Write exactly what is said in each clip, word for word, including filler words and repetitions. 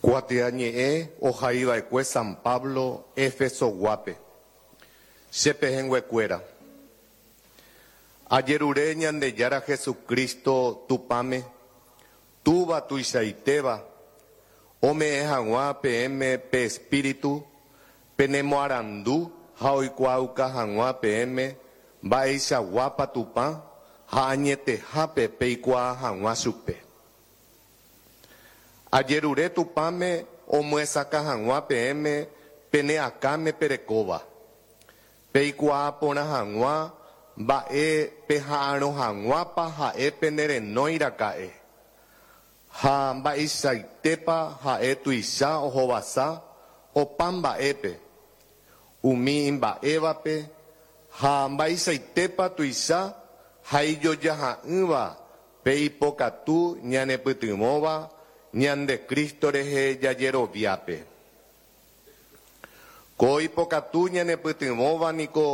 Kuatiañe'ẽ ohaiva'ekue San Pablo Efesoguápe. Che pehẽnguekuéra, ajerure Ñandejára Jesucristo Tupãme, Túva tuichaitéva, ome'ẽ hag̃ua peẽme pe Espíritu penemoarandu ha oikuaauka hag̃ua peẽme mba'eichaguápa Tupã ha añetehápe peikuaa hag̃ua chupe. Ajerure Tupãme omyesakã hag̃ua peẽme pene akãme perekóva, peikuaa porã hag̃ua mba'e peha'arõ hag̃uápa ha'e penerenói raka'e, ha mba'eichaitépa ha'e tuicha ohovasa opa mba'épe umi imba'évape ha mba'eichaitépa tuicha ha ijojaha'ỹva pe ipokatu ñanepytyvõva ñande Cristo rehe jajeroviápe. Ko ipokatu ñanepytyvõva niko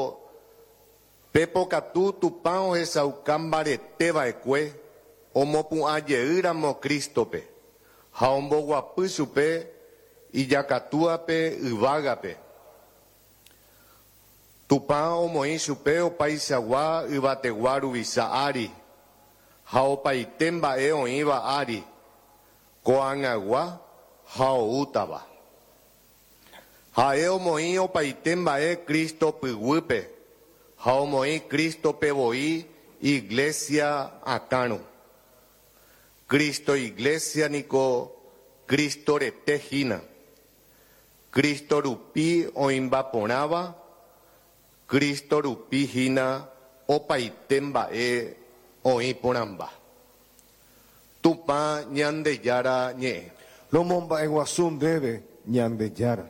pe pokatu Tupã ohechauka mbareteva'ekue omopu'ãjeýramo Crístope ha omboguapy chupe ijakatúape yvágape. Tupã omoĩ chupe opaichagua yvategua ruvicha ári ha opaite mba'e oĩva ári, ko'ag̃agua ha oútava. Ha'e omoĩ opaite mba'e Cristo pyguýpe ha omoĩ Crístope voi Iglesia akãrõ. Cristo Iglesia niko Cristo rete hína. Cristo rupi oĩmba porãva, Cristo rupi hína opaite mba'e oĩ porãmba. Tupã Ñandejára ñe'ẽ. Romomba'eguasu ndéve, Ñandejára.